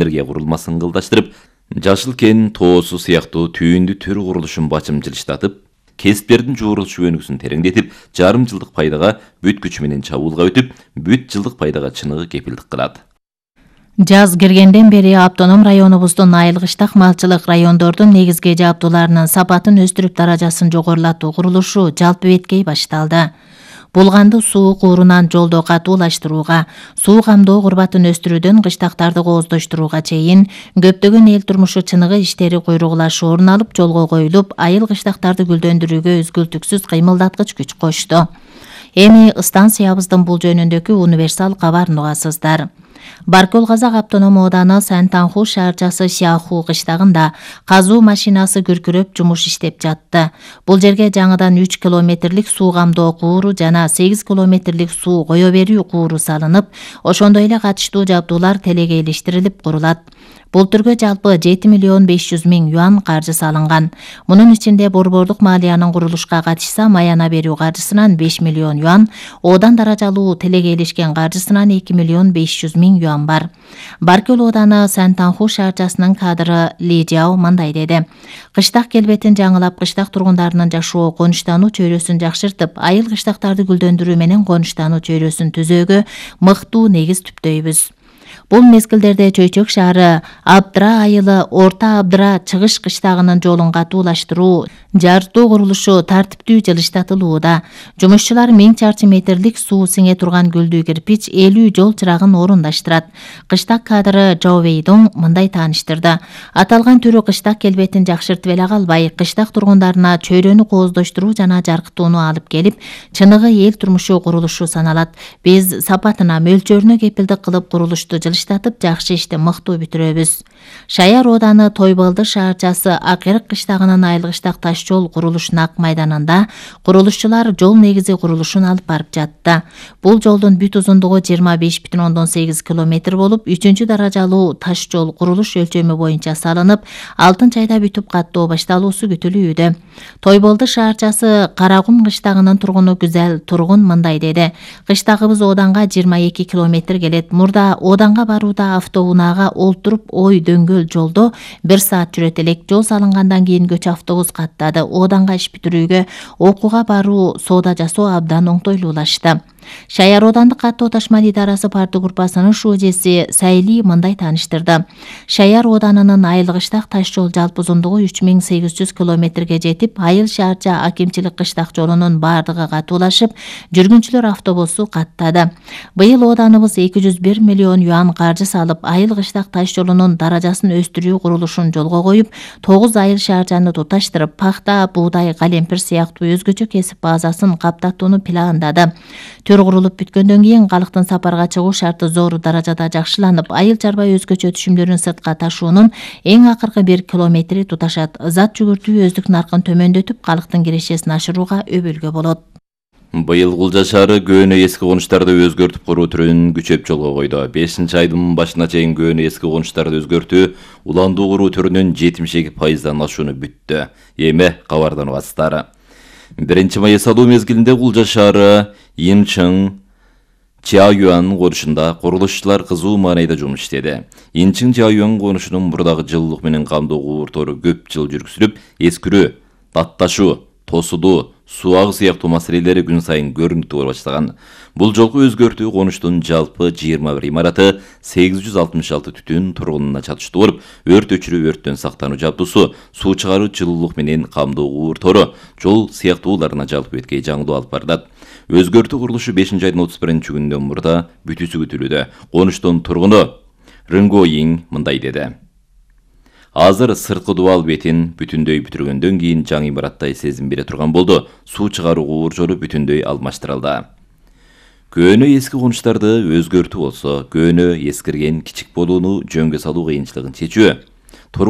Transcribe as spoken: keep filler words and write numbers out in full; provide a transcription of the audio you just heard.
энергия курулмасын кылдаштырып, Жашыл кен тоосу сыяктуу түйүндү төр курулушун бачымчылыштатып, кесиптердин жуурулушу өнүгүүсүн тереңдетип, жарым жылдык пайдага бүт күчү менен чабуулга өтүп, бүт жылдык пайдага чыныгы кепилдик кылат. Жаз киргенден бери автоном районубуздун айылгыштак малчылык райондордун негизги жабдууларынын сапатын өстүрүп даражасын жогорулатуу курулушу жалпы беткей башталды. Булганды суу куурунан жолдо катуулаштырууга, суу камдоо курбатын өстүрүүдөн кыштактарды кооздоштурууга чейин көптөгөн эл турмушу чыныгы иштери куйругулашы орун алып жолго коюлуп, айыл кыштактарды гүлдөндүрүүгө үзгүлтүксүз кыймылдаткыч күч кочту. Эми станциябыздын бул жөнүндөгү универсал кабарын угасыздар. Баркөл Казак автоном ооданы Сантанху шаарчасы Сяху кыштагында казуу машинасы күркүрөп жумуш иштеп жатты. Бул жерге жаңыдан үч километрлик суу камдоо кууру жана сегиз километрлик суу кое берүү кууру салынып, ошондой эле катыштуу жабдуулар телегейлештирилип курулат. Бул түргө жалпы жети миллион беш жүз миң юан каржы салынган. Мунун ичинде борбордук малиянын курулушка катышса маяна берүү каржысынан беш миллион юан, оодан даражалуу телегейлешкен каржысынан эки миллион беш жүз миң юан бар. Баркөл ооданы Сантанху шаарчасынын кадры Ли Жао мындай деди. Кыштак келбетин жаңылап, кыштак тургундарынын жашоо конуштануу чөйрөсүн жакшыртып, айыл кыштактарды гүлдөндүрүү менен конуштануу чөйрөсүн түзөөгө мыктуу негиз түптөйбүз. Бул мезгилдерде Чөйчөк шаары Абдыра айылы Орто Абдыра чыгыш кыштагынын жолун катуулаштыруу, жартуу курулушу тартиптүү жылыштатылууда. Жумушчулар миң чарчы метрлик суу сиңе турган гүлдүү кирпич элүү жол чырагын орундаштырат. Кыштак кадры Жаовейдон мындай тааныштырды. Аталган түрү кыштак келбетин жакшыртып эле калбай, кыштак тургундарына чөйрөнү кооздоштуруу жана жаркытууну алып келип, чыныгы эл турмушу курулушу саналат. Биз сапатына, мөлчөрүнө кепилдик кылып курулушту жылыштатып, жакшы ишти мыктуу бүтүрөбүз. Шаяр ооданы Тойбалды шаарчасы Акырык кыштагынын айылгыштак таш жол курулушунун ак майданында курулушчулар жол негизи курулушун алып барып жатты. Бул жолдун бүт узундугу жыйырма беш бүтүн ондон сегиз километр болуп, үчүнчү даражалуу таш жол курулуш өлчөмү боюнча салынып, алтынчы айда бүтүп каттоо башталуусу күтүлүүдө. Тойболду шаарчасы Карагум кыштагынын тургуну Güzel Тургун мындай деди. Кыштагыбыз Ооданга жыйырма эки километр келет. Мурда Ооданга барууда автоунаага олтуруп ой дөңгөл жолдо бир саат жүрөт элек. Жол салынгандан кийин көч автобус каттады. Ооданга иш бүтүрүүгө, окууга баруу, соода жасоо абдан оңтойлуулашты. Шаяр оодандык каттоо ташмал идарасы парты группасынын шужеси Сайли мындай тааныштырды. Шаяр ооданынын айылгыштак таш жол жалпы узундугу үч миң сегиз жүз километрге жетип, айыл шаарча акимчилик кыштак жолунун бардыгы катуулашып, жүргүнчүлөр автобусу каттады. Быйыл ооданыбыз эки жүз бир миллион юан каржы салып, айыл кыштак таш жолунун даражасын өстүрүү курулушун жолго коюп, тогуз айыл шаарчаны туташтырып, пахта, буудай, калемпир сыяктуу өзгөчө кесип базасын каптатууну пландады. Төр курулуп бүткөндөн кийин калктын сапарга чыгуу шарты зор даражада жакшыланып, айыл чарба өзгөчө түшүмдөрүн сыртка ташуунун эң акыркы бир километри туташат. Зат жүгүртүү өздүк наркын төмөндөтүп, калктын кирешесин ашырууга өбөлгө болот. Быйыл Кулжа шаары көөнө эски конуштарды өзгөртүп куруу түрүн күчөп жолго койду. бешинчи айдын башына чейин көөнө эски конуштарды өзгөртүү уландуу куруу түрүнүн жетимиш эки пайыздан ашууну бүттү. Эми кабардан угасыздар. биринчи май салуу мезгилинде Кулжа шаары Инчың Чаоюан конушунда курулушчулар кызуу маанайда жумуш иштеди. Инчың Чаоюан конушунун мурдагы жылуулук менен камдоо кууртору көп жыл жүргүзүлүп, эскирүү, татташуу, тосудуу, суу агы сыяктуу маселелери күн сайын көрүнүктүү боло баштаган. Бул жолку өзгөртүү конуштун жалпы жыйырма бир имараты сегиз жүз алтымыш алты түтүн тургунуна чатыштуу болуп, өрт өчүрүү, өрттөн сактануу жабдуусу, суу чыгаруу, жылуулук менен камдоо кууртору, жол сыяктууларына жалпы беткей жаңылуу алып барылат. Өзгөртүү курулушу бешинчи айдын отуз биринчи күнүнөн мурда бүтүүсү күтүлүүдө. Конуштун тургуну Рынгоин мындай деди. Азыр сырткы дубал бетин бүтүндөй бүтүргөндөн кийин жаңы имараттай сезим бере турган болду. Суу чыгаруу кууржору бүтүндөй алмаштырылды. Көөнө эски конуштарды өзгөртүү болсо, көөнө эскирген кичик болууну жөнгө салуу кыйынчылыгын чечүү.